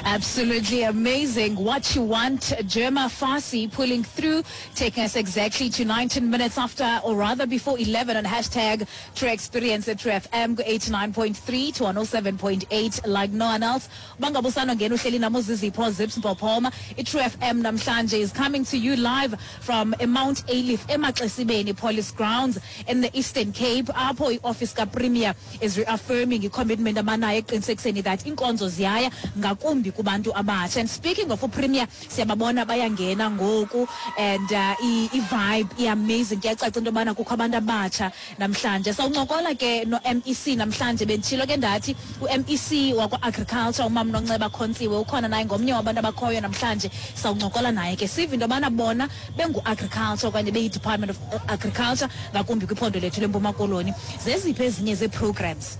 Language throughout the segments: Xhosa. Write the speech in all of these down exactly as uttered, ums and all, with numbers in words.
Absolutely amazing. What you want, Germa Fassi pulling through, taking us exactly to nineteen minutes after, or rather before eleven on hashtag True Experience at True F M, eighty-nine point three to one oh seven point eight like no one else. Bangabusano ngena uhleli namo Zizipho Zips Mpophoma. I-True F M namhlanje is coming to you live from Mount Ayliff, eMaxesibeni Police Grounds in the Eastern Cape. Apho i-office ka-Premier is reaffirming i-commitment abanayo eqinisekiseni that inkonzo ziyaya ngakumbi kubantu abatsha. And speaking of uPremier, siyababona bayangena ngoku and uh, i-vibe i-amazing. Kuyacaca into yobana kukho abantu abatsha namhlanje. Sawuncokola ke no-M E C namhlanje. Benditshilo ke ndathi u-M E C wakwa-agriculture, umam Nonceba Khontsiwe, ukhona naye, ngomnye wabantu abakhoyo namhlanje. Sawuncokola naye ke sive into yobana bona bengu-agriculture okanye beyi-Department of Agriculture ngakumbi kwiphondo lethu leMpuma Koloni, zeziphi ezinye zee-programs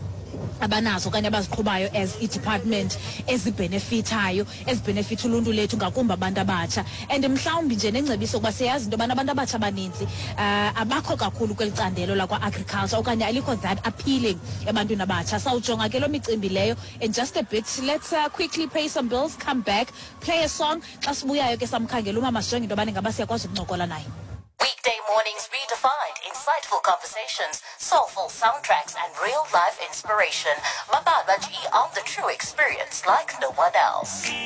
abanazo okanye abaziqhubayo as i-department ezibhenefithayo, ezibhenefitha uluntu lethu, ngakumbi abantu abatsha, and mhlawumbi nje nengcebiso, kuba siyazi into yobana abantu abatsha abaninzi uh, abakho kakhulu kweli candelo lakwa-agriculture okanye alikho that appealing ebantwini abatsha. Sawujonga ke loo micimbi leyo in just a bit. Let's uh, quickly pay some bills, come back, play a song. Xa sibuyayo ke samkhangela umama, sijonge into yobana ingaba siyakwazi ukuncokola naye. Weekday mornings redefined, insightful conversations, soulful soundtracks, and real life inspiration. Mababa G on the True Experience like no one else.